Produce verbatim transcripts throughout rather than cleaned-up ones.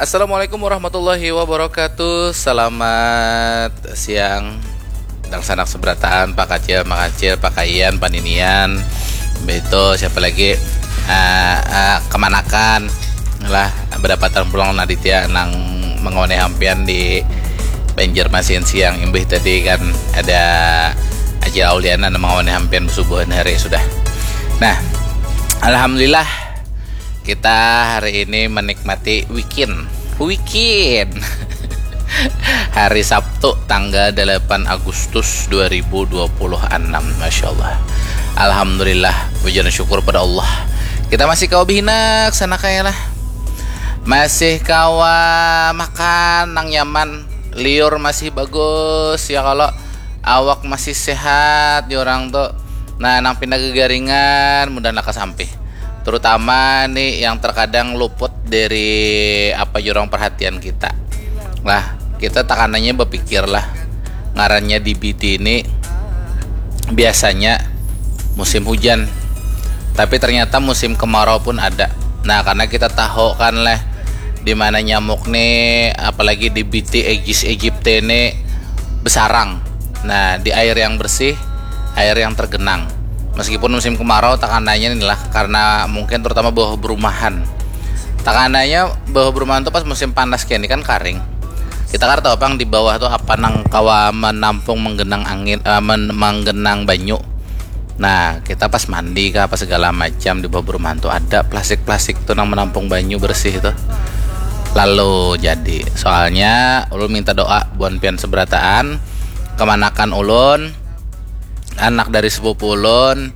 Assalamualaikum warahmatullahi wabarakatuh. Selamat siang, dangsanak seberataan, Pak Kacil, Mak Kacil, Pak Kayan, paninian, begitu siapa lagi? Ah, ah, kemanakan lah, berdapatan pulang Naditya nang mengoneh hampian di Banjarmasin siang imbih tadi kan ada Acil Auliana nang mengoneh hampian subuhan hari sudah. Nah, alhamdulillah kita hari ini menikmati weekend. Weekend. Hari Sabtu tanggal delapan Agustus dua ribu dua puluh enam. Masya Allah. Alhamdulillah, puji dan syukur pada Allah. Kita masih kawa behinak sana kaya lah. Masih kawa makan nang nyaman. Liur masih bagus ya kalau awak masih sehat di orang tuh. Nah, nang pindah gegaringan mudah nak kesampih. Terutama nih yang terkadang luput dari apa jurang perhatian kita. Lah, kita takanannya berpikir lah. Ngarannya di B D ini biasanya musim hujan. Tapi ternyata musim kemarau pun ada. Nah, karena kita tahu kan leh di mana nyamuk nih, apalagi di B D Aedes aegypti ini besarang. Nah, di air yang bersih, air yang tergenang. Meskipun musim kemarau, takananya inilah karena mungkin terutama bawah berumahan. Takananya bawah berumahan tuh pas musim panas kayak ini kan karing. Kita kan tahu pang di bawah tuh apa nang kawa menampung menggenang angin, eh, men- menggenang banyu. Nah, kita pas mandi kah, pas segala macam di bawah perumahan tuh ada plastik-plastik tuh nang menampung banyu bersih tuh. Lalu jadi, soalnya ulun minta doa buan pian seberataan, kemanakan ulun, anak dari sepupu ulun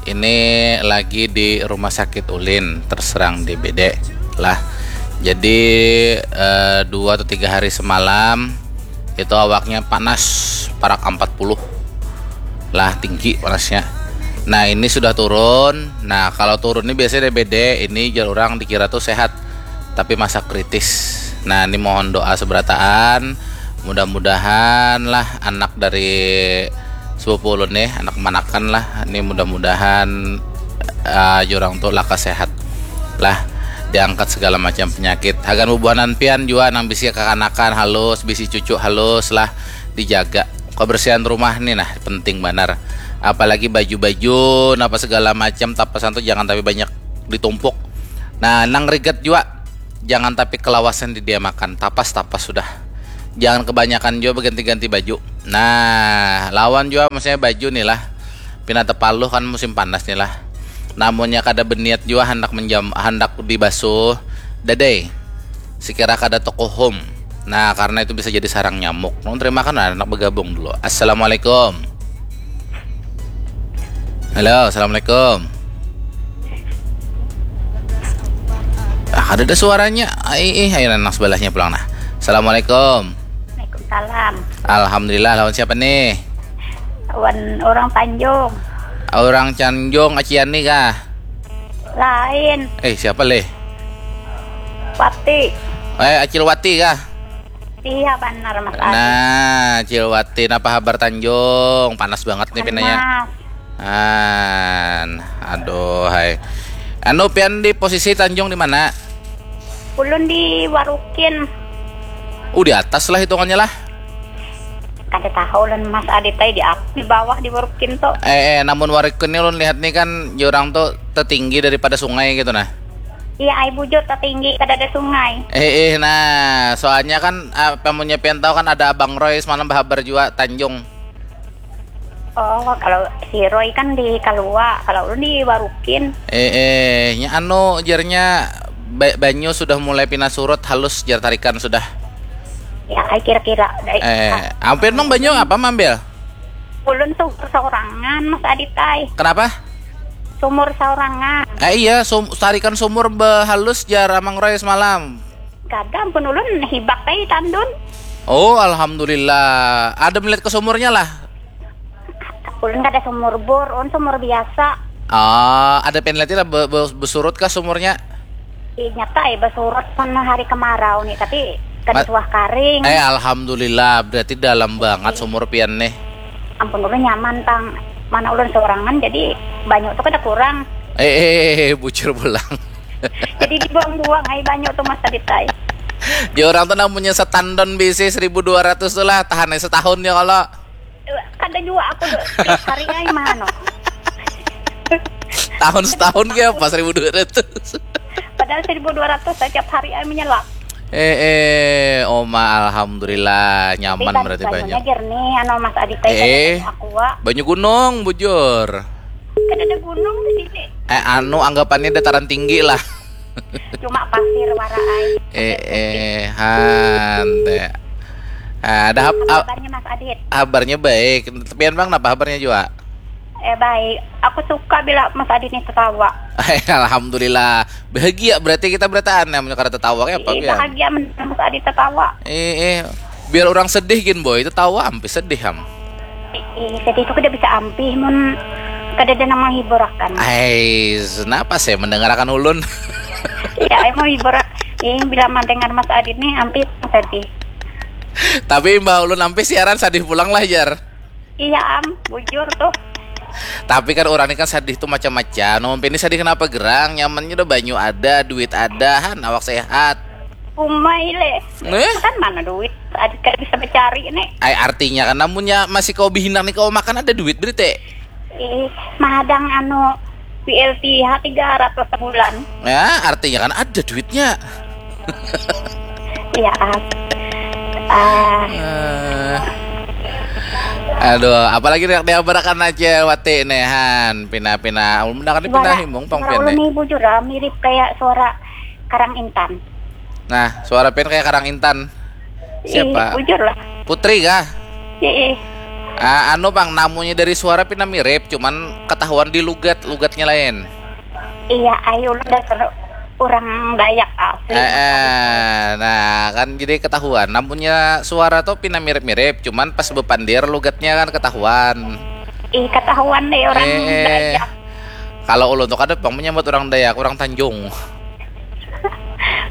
ini lagi di rumah sakit ulin terserang D B D lah. Jadi eh, dua atau tiga hari semalam itu awaknya panas parak empat puluh lah, tinggi panasnya. Nah, ini sudah turun. Nah, kalau turun ini biasanya D B D, ini jar orang dikira tuh sehat, tapi masa kritis. Nah, ini mohon doa seberataan. Mudah-mudahan lah anak dari sepupu ulun nih, anak manakan lah. Ini mudah-mudahan uh, jurang tuh laka sehat lah, diangkat segala macam penyakit. Hagan bubuhanan pian jua nang bisi kakanakan halus, bisi cucu halus lah, dijaga. Kebersihan rumah nih nah penting banar. Apalagi baju-baju, napa segala macam tapasan tuh jangan tapi banyak ditumpuk. Nah, nang rigat jua, jangan tapi kelawasan di dia makan, tapas-tapas sudah. Jangan kebanyakan jua berganti-ganti baju. Nah, lawan jua maksudnya baju nih lah. Pina tepaluh kan musim panas nih lah. Namunnya kada berniat jua hendak menjam hendak dibasuh dadai. Sekira kada tokohum. Nah, karena itu bisa jadi sarang nyamuk. Nung terima kan anak bergabung dulu. Assalamualaikum. Halo, assalamualaikum. Ah, ada ada suaranya. Ai, eh, ayo nang sebelahnya pulang nah. Assalamualaikum. Waalaikumsalam. Alhamdulillah, lawan siapa nih? Wan orang Tanjung. Orang Tanjung, Aciani kah? Lain. Eh, siapa leh? Wati. Eh, Acil Wati kah? Iya benar Mas Adi. Nah, Acil Wati, napa habar Tanjung? Panas banget nih pinanya. Panas. An, aduh hai. Anu pian di posisi Tanjung di mana? Ulun di Warukin. Uh, di atas lah hitungannya lah. Kada tahu ulun Mas Adit ai di ap- di bawah di Warukin tu. Eh, eh, namun Warukin ni ulun lihat ni kan jurang tu tetinggi daripada sungai gitu nah. Iya ai bujur tetinggi kada ada sungai. Eh, eh, nah, soalnya kan apa munnya pian tahu kan ada Abang Roy semalam berhabar jua Tanjung. Oh, kalau si Roy kan di Kalua, kalau ulun di Warukin. Eh, eh, nya anu jarnya ba- banyu sudah mulai pina surut halus jar tarikan sudah. Ya, ai kira-kira. Dai- Eh, ampir mang banyu apa mambil? Ulun sumur saurangan, Mas Adit ai. Kenapa? Sumur saurangan. Eh iya, sum- tarikan sumur behalus jar Amang Roy semalam. Kada, ampun ulun hibak ai tandun. Oh, alhamdulillah. Ada melihat ke sumurnya lah. Ulun kada sumur bor, ulun sumur biasa. Ah, ada penalti lah be- be- besurut kah sumurnya? Ih, nyata ya besurut pun hari kemarau nih, tapi kada Mat- suah karing. Eh, alhamdulillah, berarti dalam banget sumur pian nih. Ampun ulun nyaman tang, mana ulun seorangan jadi banyu tuh kada kurang. Eh, eh, eh, eh, bucur pulang. Jadi dibuang-buang ai banyu tuh Mas Adit ai. Ya orang tuh namanya setandon bisi seribu dua ratus tuh lah, tahan aja setahun ya kalau. Kada jua aku tuh tiap hari ai mano. Tahun setahun kayak apa seribu dua ratus? Padahal seribu dua ratus setiap hari ai menyelak. Eh eh, oma, alhamdulillah nyaman berarti banyak. Jernih anu Mas Adit. Eh, eh. Aqua. Banyu gunung bujur. Kada ada gunung di sini. Eh, anu, anggapannya dataran tinggi lah. Cuma pasir wara ai. Eh eh, hante. Ah, ada hap- Apa ah, kabarnya Mas Adit? Kabarnya baik. Tapi bang, apa kabarnya juga? Eh baik. Aku suka bila Mas Adit nih tertawa. Alhamdulillah. Bahagia berarti kita berataan ya, punya karena tertawa kayak apa Ih, ya? Bahagia mendengar Mas Adit tertawa. Eh eh, biar orang sedih gin boy, tertawa ampih sedih ham. Ih, sedih itu kada bisa ampih mun kada ada yang menghiburakan. Ais, kenapa saya mendengarkan ulun? Iya, ai mau hibur. Ih, bila mendengar Mas Adit nih ampih sedih. Tapi mbak ulun ampih siaran sedih pulang lah jar. Iya am, bujur tuh. Tapi kan orang ini kan sedih tuh macam-macam. Numpin ini sedih kenapa gerang? Nyamannya udah banyu ada, duit ada, han, awak sehat. Umai le. Eh? Kan mana duit? Adit kada bisa mencari nih. Ai artinya kan namunnya masih kau bihinak nih kau makan ada duit berarti. Ih, mahadang anu B L T H tiga ratus sebulan. Ya, artinya kan ada duitnya. Iya am. Ah, Eh, aduh, apalagi nak diabarakan aja wati nehan pina-pina ulun mendakan pina suara- himung pang suara pian ulun nih. Nih bujur lah, mirip kayak suara Karang Intan. Nah, suara pian kayak Karang Intan. Siapa? Ih, bujur lah. Putri kah? Ih, Ah, anu pang, namunya dari suara pina mirip, cuman ketahuan di lugat, lugatnya lain. Iya, ayo udah seru. Orang Dayak asli. Eh, eh, nah kan jadi ketahuan. Namunnya suara tuh pina mirip-mirip, cuman pas bepandir lugatnya kan ketahuan. Ih, ketahuan deh orang Eh, eh. Dayak. Kalau ulun tuh kada pang menyambut orang Dayak, orang Tanjung.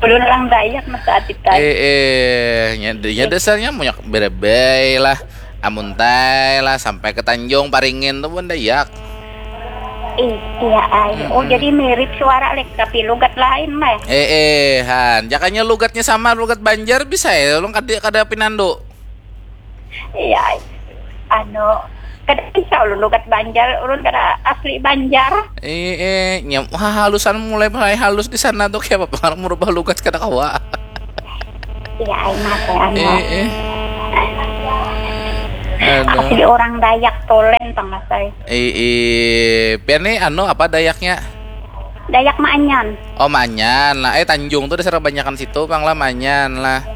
Belum orang Dayak Mas Adit tadi. Eh, eh, nya, nya dasarnya banyak berebay lah, amuntai lah, sampai ke Tanjung Paringin tuh pun Dayak. Ih, iya ai. Oh, jadi mirip suara lek tapi lugat lain mah. Eh, eh, han, jakanya lugatnya sama lugat Banjar bisa ya, ulun kada kada pinandu. Iya ai. Anu, kada bisa ulun lugat Banjar, ulun kada asli Banjar. Eh, eh, nyam, wah, halusan mulai mulai halus di sana tuh kayak apa merubah lugat kada kawa. Iya ai Mas ya, anu. Eh, eh. Aduh. Asli orang Dayak Tolen pang Mas ai. Eh, eh, pian nih anu apa Dayaknya? Dayak Maanyan. Oh, Maanyan lah. Eh, Tanjung tuh dasar kebanyakan situ pang lah, Maanyan lah.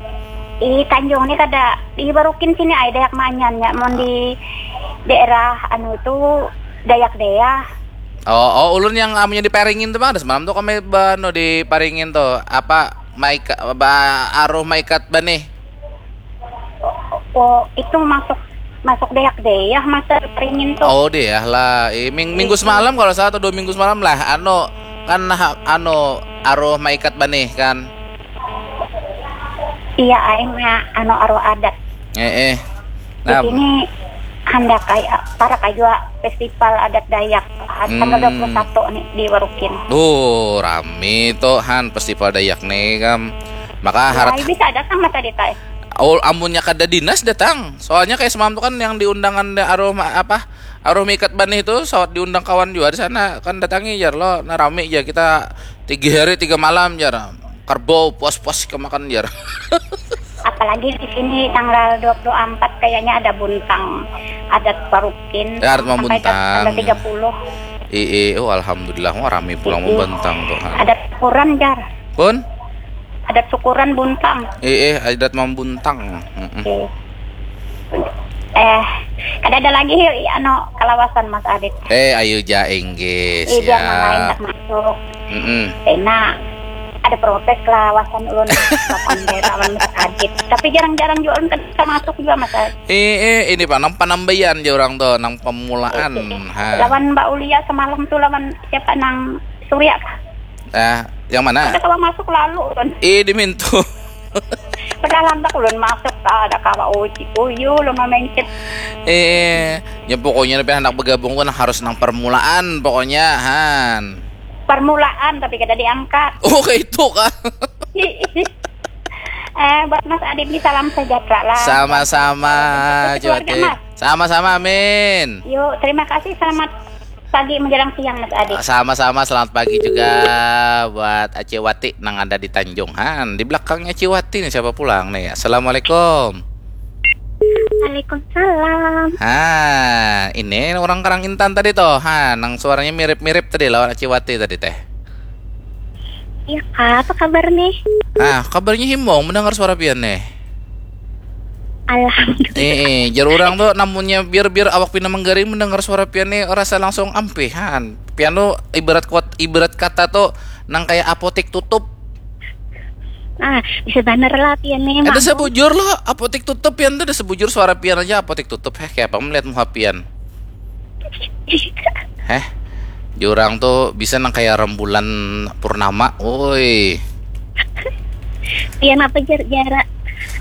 Ih, Tanjung nih kada di Barukin sini ai Dayak Maanyan ya. Mau di daerah anu itu Dayak Dea. Oh, oh, ulun yang amunya di Paringin tuh pang, ada semalam tuh kami bano di Paringin tuh apa Maika ba aruh Maikat Banih. Oh, itu masuk masuk Dayak Dea masa Paringin tuh. Oh, dia lah. Eh, ming- minggu semalam kalau salah atau dua minggu semalam lah. Anu kan ha- anu aruh Maikat Banih kan. Iya ai nya anu aruh adat. Eh, eh. Di sini handak kayak para kajua festival adat Dayak tanggal dua puluh satu nih di Warukin. Oh, rami tuh han festival Dayak nih kam. Maka harap Ai bisa datang mata ditai. Oh, amunnya kada dinas datang. Soalnya kayak semalam tuh kan yang diundangan de- aruh ma- apa? Aruh Maikat Banih itu sawat diundang kawan juga di sana kan datangi jar lo. Nah, rami jar kita tiga hari tiga malam jar. Kerbau puas-puas kemakan jar. Apalagi di sini tanggal dua puluh empat kayaknya ada buntang adat Warukin. Ya, adat mau Sampai buntang. Tanggal tiga puluh. Ii, oh alhamdulillah, wah rami pulang Ii. Membantang tuh. Ha. Adat syukuran jar. Pun? Adat syukuran buntang. Ii, adat Membantang. Mm-mm. Oke. Eh, kada ada lagi anu kalawasan Mas Adit. Eh, ayo ja inggih. Iya, jangan lain Ya. Tak masuk. Mm-mm. Enak. Ada protes kalawasan ulun lawan lawan Mas Adit. Tapi jarang-jarang juga ulun kan bisa masuk juga Mas Adit. Eh, eh, ini pak nang penambayan aja orang tuh, nang pemulaan. Ha. Lawan Mbak Ulia semalam tuh lawan siapa nang Surya kah? Eh, yang mana? Ada kawa masuk lalu ulun. Eh, di Mintu. Padahal handak ulun masuk tak ada kawa uji uyu ulun mamencet. Eh, ya pokoknya tapi anak bergabung tuh harus nang permulaan pokoknya han. Permulaan tapi kada diangkat. Oh, kayak itu kah? Eh, Eh, buat Mas Adit ni salam sejahtera lah. Sama-sama, Untuk keluarga, Cuati. Mas. Sama-sama, amin. Yuk, terima kasih. Selamat pagi menjelang siang, Mas Adit. Sama-sama, selamat pagi juga buat Acewati nang ada di Tanjung. Han, di belakangnya Acewati nih siapa pulang nih? Assalamualaikum. Waalaikumsalam. Ha, ini orang Karang Intan tadi toh. Ha, nang suaranya mirip-mirip tadi lawan Acewati tadi teh. Iya, Kak, apa kabar nih? Ah, kabarnya himbong mendengar suara pian nih. Alhamdulillah. Eh, eh, jar orang tuh namunnya biar biar awak pina menggaring mendengar suara pian nih rasa langsung ampihan. Pian tuh ibarat kuat ibarat kata tuh nang kayak apotik tutup. Ah, bisa bener lah pian nih. Ada Emang. Sebujur loh, apotik tutup pian tuh ada sebujur suara pian aja apotik tutup. Heh, kayak apa melihat muha pian? Heh, jurang tuh bisa nang kayak rembulan purnama. Woi. Pian apa jar jara?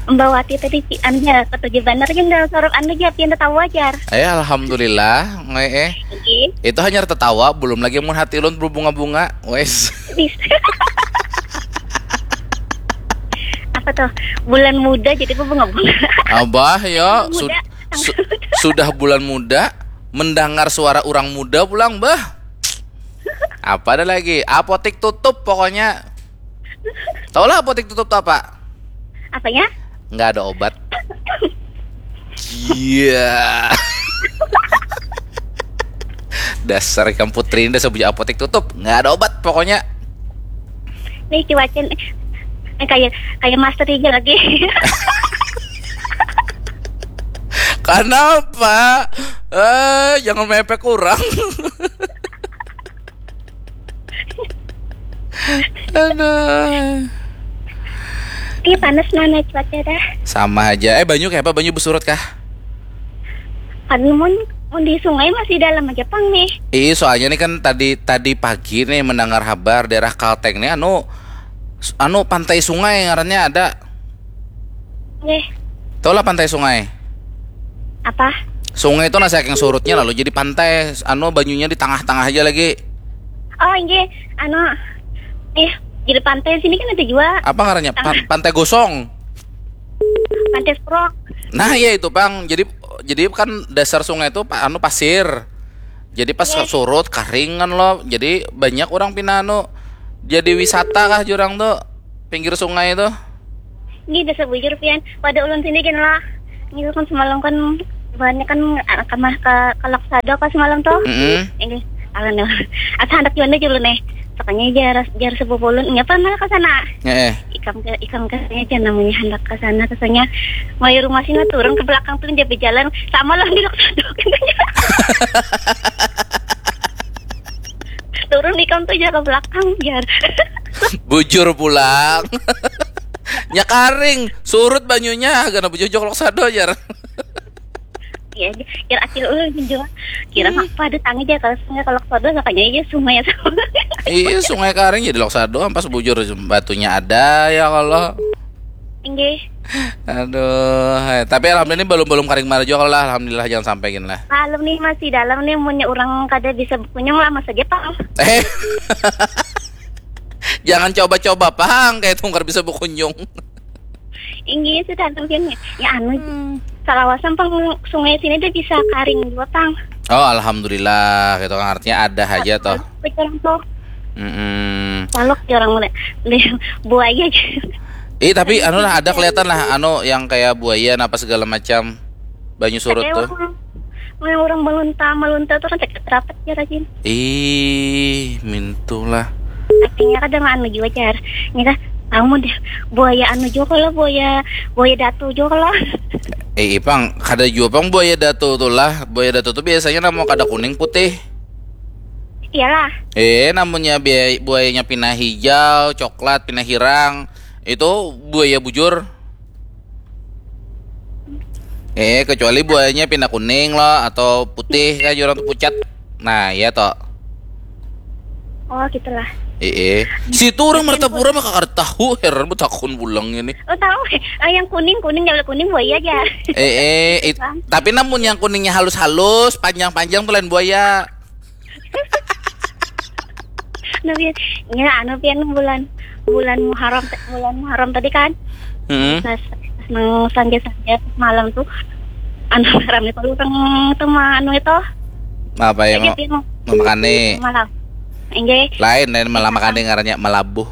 Mbak Wati tadi pi anu jar, ketujuh bener kan dalam sorok anu jar, pian tertawa jar. Eh, alhamdulillah, nge eh. Oke. Itu hanya tertawa, belum lagi mun hati ulun berbunga-bunga. Wes. Apa tuh? Bulan muda jadi berbunga-bunga. Abah ya, sud- Muda. su- sudah bulan muda, mendengar suara orang muda pulang, bah. Apa ada lagi? Apotik tutup pokoknya. Taulah apotik tutup tuh apa? Apanya? Nggak ada obat. Iya. Dasar ikam putri ini dasar punya apotek tutup, nggak ada obat pokoknya. Nih cuacin eh, kayak kayak master aja lagi. Kenapa? Eh, jangan mepek kurang. Aduh. Iya panas mana cuaca dah. Sama aja. Eh, banyu kayak apa? Banyu bersurut kah? Kan mun mun di sungai masih dalam aja pang nih. Ih, soalnya nih kan tadi tadi pagi nih mendengar kabar daerah Kalteng nih anu anu pantai sungai ngarannya ada. Nggih. Tahu lah pantai sungai? Apa? Sungai itu nasi saking surutnya lalu jadi pantai, anu banyunya di tengah-tengah aja lagi. Oh, nggih. Anu eh di depan teh sini kan ada juga Apa ngarannya? Pan- pantai gosong. Pantai Sprok. Nah, iya itu, Bang. Jadi jadi kan dasar sungai itu pa- anu pasir. Jadi pas Iya. surut karing kan lo. Jadi banyak orang pina anu jadi wisata kah jurang tuh pinggir sungai itu. Ini dasar bujur pian. Pada ulun sini gini lah. Ini kan semalam kan banyak kan anak kamar ke Kalak Sado ke semalam tuh. Mm-mm. Ini akan dah. Asa handak jual aja dulu nih. Sakanya jar jar sepupu ulun. Ngapa malah ke sana? Heeh. Ikam ke ikam ke aja namanya handak ke sana kesanya. Mulai rumah sini turun ke belakang tuh dia berjalan sama lah di Lok Sado. Turun ikam tuh aja ke belakang jar. Bujur pulang. Nya karing, surut banyunya, gana bujur joklok sado jar. Ya, jar acil ulun juga. Kira apa ada tangi aja kalau sungai kalau Lok Sado sakanya aja sungai sama. Iya, sungai karing jadi lok sado, ampas bujur batunya ada ya kalau. Inggih. Aduh, hai. Tapi alhamdulillah ini belum belum karing marah juga lah. Alhamdulillah jangan sampai gini lah. Maklum nih masih dalam nih punya orang kada bisa berkunjung lama saja pang. Eh, jangan coba-coba pang kayak tungkar bisa berkunjung. Inggih sudah mungkin ya. Ya anu salawasan pang sungai sini dia bisa karing dua pang. Oh, alhamdulillah, gitu kan artinya ada aja toh. Pikiran tuh Mm-mm. Palok jarang mulai. Buaya aja. Eh, tapi anu lah ada kelihatan lah anu yang kayak buaya apa segala macam banyu surut Kayak tuh. Orang, orang, orang melunta melunta tuh kan cakap rapat ya rajin. Ih, mintulah. Artinya kadang anu juga jar. Ini kan kamu deh buaya anu juga kalau buaya buaya datu juga kalau. Eh, ipang, kada jua pang buaya datu tuh lah. Buaya datu tuh biasanya namun kada kuning putih. Iyalah. Eh, namunnya bia- buayanya pina hijau, coklat, pina hirang, itu buaya bujur. Eh, kecuali buayanya pina kuning loh atau putih kayak orang tuh pucat. Nah, iya toh. Oh gitulah. Eh, eh. Situ orang Martapura maka kada tahu, heran betakun pulang ini. Oh tahu. Ah, yang kuning kuning kalau kuning buaya aja. Eh, eh, it- tapi namun yang kuningnya halus-halus, panjang-panjang tuh lain buaya. Nah, pian, ya anu pian bulan bulan Muharram, bulan Muharram tadi kan. Hmm. Nah, nang sanja-sanja malam tuh, anu, rame kalau orang tuh mah anu itu. Apa yang mau makan nih? Malam. Enggak. Lain, lain malam makan nih, ngarannya melabuh.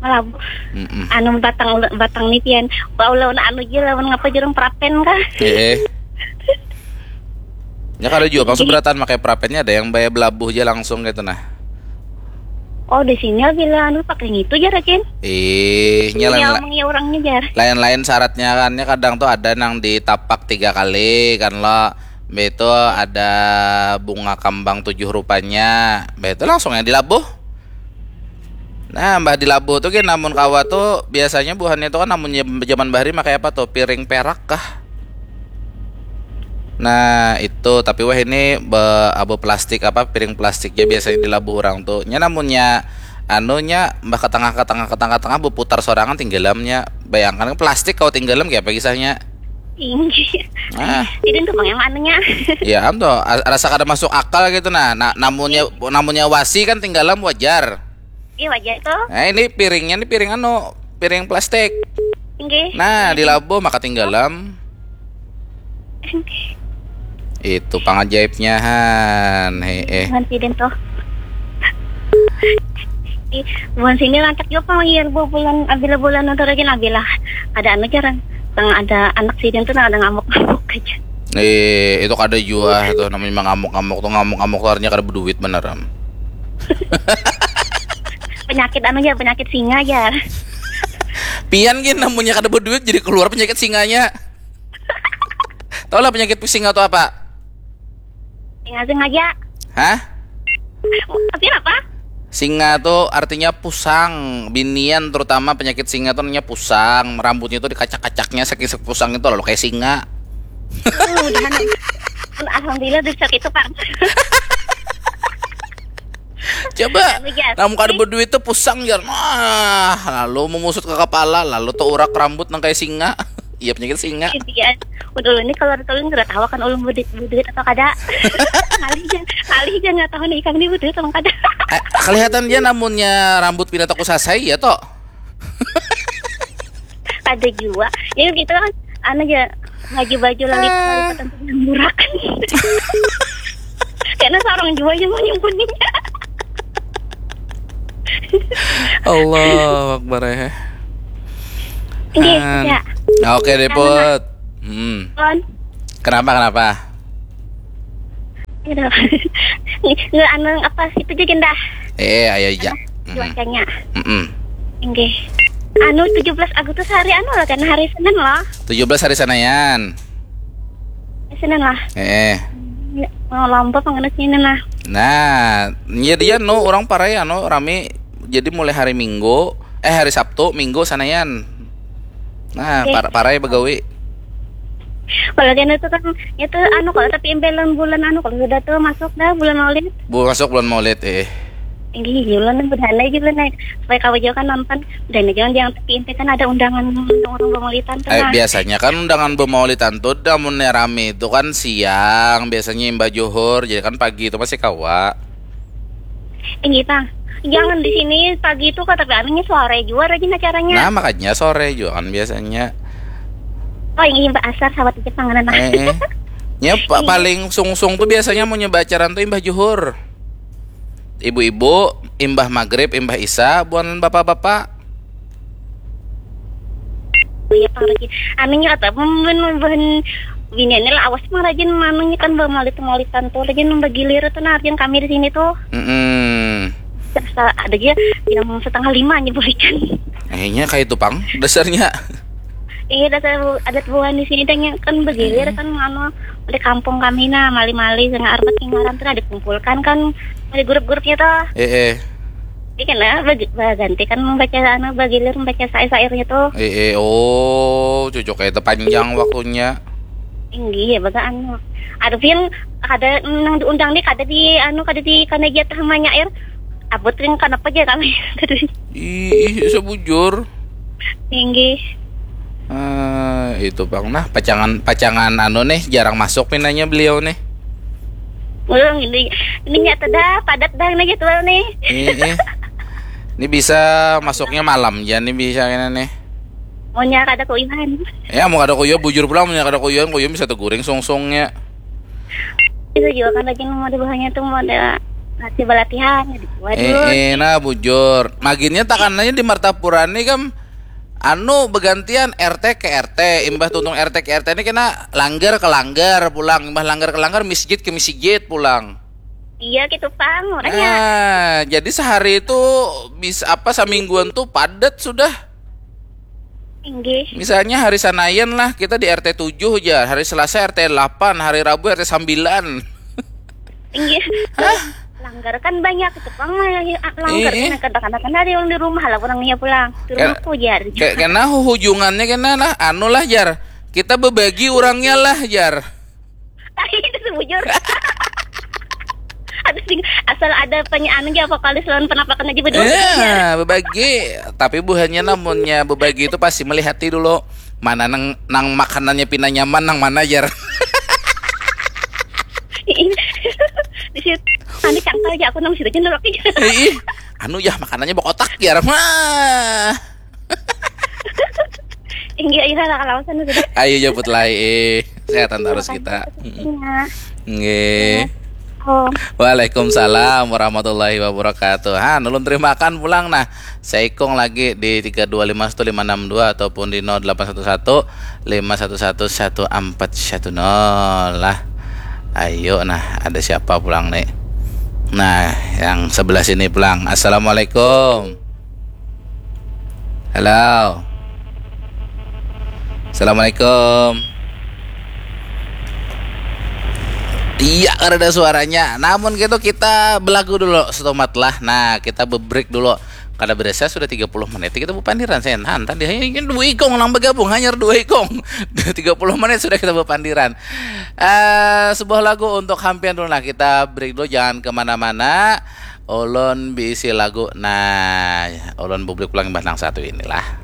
Melabuh. Mm-mm. Anu, batang, batang nih pian. Bau lawan anu aja, lawan ngapa jurung prapen kah? Eh, eh. Ya kada jua pang seberatan pakai prapennya, ada yang bayar belabuh aja langsung gitu nah. Oh, di sini bila anu pakai ngitu jar, Cin. Ih, nya lain-lain orangnya jar. Lain-lain syaratnya kan, ya kadang tuh ada nang ditapak tiga kali kan lo. Mbak itu ada bunga kambang tujuh rupanya. Mbak itu langsung yang dilabuh. Nah, mbah di labuh tuh gin, namun kawa tuh biasanya buhannya tuh kan namun zaman bahari pakai apa tuh, piring perak kah? Nah itu, tapi wah ini be, abu plastik apa, piring plastik ya biasanya di labuh orang tuh. Nya namunnya anunya mbah ke tengah, ke tengah, ke tengah, ke tengah, berputar sorangan tinggalamnya. Bayangkan plastik kau tinggalam kayak apa kisahnya. Tinggi. Ah. Jadi untuk yang anunya. Ya am tuh, rasa kada masuk akal gitu nah. Nah, namunnya, namunnya wasi kan tinggalam wajar. Iya, wajar tuh. Nah, ini piringnya, ini piring anu, piring plastik. Nggih. Nah, di labuh maka tinggalam. Itu pangajaibnya han. He eh. Bukan sidin tuh. Di bukan sini lantak juga pang iya bu bulan abila bulan nonton lagi nabila. Ada anu jarang. Tang ada anak sidin tuh ada ngamuk-ngamuk aja. Eh, itu kada jua tuh namanya ngamuk-ngamuk tuh, ngamuk-ngamuk tuh artinya kada berduit beneran. Penyakit anu ya, penyakit singa ya. Pian gin namunnya kada berduit jadi keluar penyakit singanya. Tahu lah penyakit singa tuh apa? Singa sengaja. Hah? Tapi apa? Singa tuh artinya pusang, binian terutama penyakit singa tuh namanya pusang, rambutnya tuh dikacak-kacaknya saking pusang itu lalu kayak singa. Oh, udah. Alhamdulillah bisa gitu, Pak. Coba, namun kada berduit tuh pusang jar. Nah, lalu memusut ke kepala, lalu tuh urak rambut nang kayak singa. Iya penyakit singa. Iya. Udah ini kalau ada tolong kada tahu kan ulun berduit, berduit atau kada. Kali aja, kali aja nggak tahu nih ikam ini berduit atau kada. Eh, kelihatan dia namunnya rambut pindah toko sasai ya toh. Ada juga. Ya gitu kan, anu aja ngaji baju lali lipatan murakan. Karena seorang juga yang menyembunyinya. Allahu Akbar ya. Iya. Oke deh Put. Hmm. Kenapa kenapa? Nggak anu apa itu juga dah. Eh ayo aja. Cuacanya. Mm -mm. Enggak. Anu tujuh belas Agustus hari anu lah kan hari Senin lah. Tujuh belas hari Senayan. Senin lah. Eh. Oh, lomba pengenus ini nah. Nah, ya dia no orang parai anu rame jadi mulai hari Minggu, eh hari Sabtu, Minggu Senayan. Nah, okay. Par parai begawi. Kalau dia itu kan itu anu kalau tapi impelan bulan anu kalau sudah tuh masuk dah bulan Maulid. Bu masuk bulan Maulid eh. Ini bulan bulan naik supaya kau jauh kan nonton dan jangan yang tapi impe kan ada undangan orang bermaulitan tuh. Eh, biasanya kan undangan bermaulitan tuh dah mun rame itu kan siang biasanya imbah johor jadi kan pagi itu masih kawa. Ini tang jangan di sini pagi itu kata kami sore juga rajin acaranya. Nah makanya sore juga kan biasanya. Oh ini imbah asar sawat aja panganan. Eh, eh. Ya pa paling sungsung tuh biasanya mau nyoba acaran tuh imbah juhur. Ibu-ibu, imbah maghrib, imbah isa, buan bapak-bapak. Iya pang rajin. Anunya kata buhan buhan biniannya lah awas pang rajin manunya kan bamaulit maulitan tuh rajin bagilir tuh nah rajin kami di sini tuh. Mm -mm. Ada aja yang setengah lima aja berikan. Akhirnya kayak itu pang dasarnya. Iya dasar adat buhan di sini tanya kan bagilir hmm. Kan anu di kampung kami nah mali-mali sing arbat sing ngaran tuh nah dikumpulkan kan di grup-grupnya tuh. Eh eh. Jadi kan nah bagi baganti kan membaca anu bagilir membaca sair-sairnya tuh. Eh eh oh cocok kayak panjang waktunya. Tinggi ya baga anu. Ada pian kada nang diundang nih kada di anu kada di kana jatah manyair. Abut ring kenapa aja kami. Ih, sebujur. Tinggi. Uh, itu bang nah pacangan pacangan anu nih jarang masuk pinanya beliau nih. Belum ini ini nyata dah padat dah ini jadwal nih. Iya. Ini bisa masuknya malam ja nih, bisa kena nih. Maunya kada kuyuhan. Ya, mau kada kuyuh, bujur pulang, maunya kada kuyuhan, kuyuh bisa teguring sungsungnya. Itu juga kan lagi mau di bawahnya tuh mau ada latihan balatihan gitu. Waduh. Eh, eh, nah, bujur. Maginnya takanannya di Martapura nih, kam, anu, begantian R T ke R T, imbah tuntung R T ke R T ini kena langgar ke langgar pulang, imbah langgar ke langgar, misjid ke misjid pulang. Iya gitu pang, makanya. Nah, jadi sehari itu bisa apa, samingguan tuh padat sudah. Inggih. Misalnya hari Sanayan lah, kita di R T tujuh aja, hari Selasa R T delapan, hari Rabu R T sembilan. Inggih. Langgar kan banyak itu pang, langgar Iya. Kan kadang-kadang kan ada yang di rumah lah, orangnya pulang di Kan- rumahku jar. Kayak kena hujungannya kena lah, anu lah, jar. Kita bebagi orangnya lah, jar. Itu sebujur. Ada sing asal ada penyanyi aja, vokalis lawan penampakan aja berdua. Ya, bebagi. Tapi buhannya namunnya bebagi itu pasti melihati dulu mana nang, nang makanannya pina nyaman, nang mana, jar. Di situ nanti cangkal aja aku nang situ aja nolak aja. Ih, anu ya, makanannya bokotak, jar. Wah. Inggih, iya lah kalau sana sudah. Ayo jemput lai, eh. Sehatan terus kita. Iya. Nggih. Oh, Waalaikumsalam warahmatullahi wabarakatuh. Han, ulun terimakan pulang nah. Saikung lagi di tiga dua lima satu lima enam dua ataupun di nol delapan satu satu lima satu satu satu empat satu nol lah. Ayo nah, ada siapa pulang nih? Nah, yang sebelah sini pulang. Assalamualaikum. Halo. Assalamualaikum. Iya, kada ada suaranya. Namun gitu kita belagu dulu setomat lah. Nah, kita be-break dulu. Kada berasa sudah tiga puluh menit kita bepandiran, Sen. Han, tadi hanya dua ikung nang bergabung, hanya dua ikung. Tiga puluh menit sudah kita bepandiran. Eh, sebuah lagu untuk hampian dulu lah. Kita break dulu, jangan kemana-mana. Ulun beisi lagu. Nah, ulun publik pulang imbah nang satu inilah.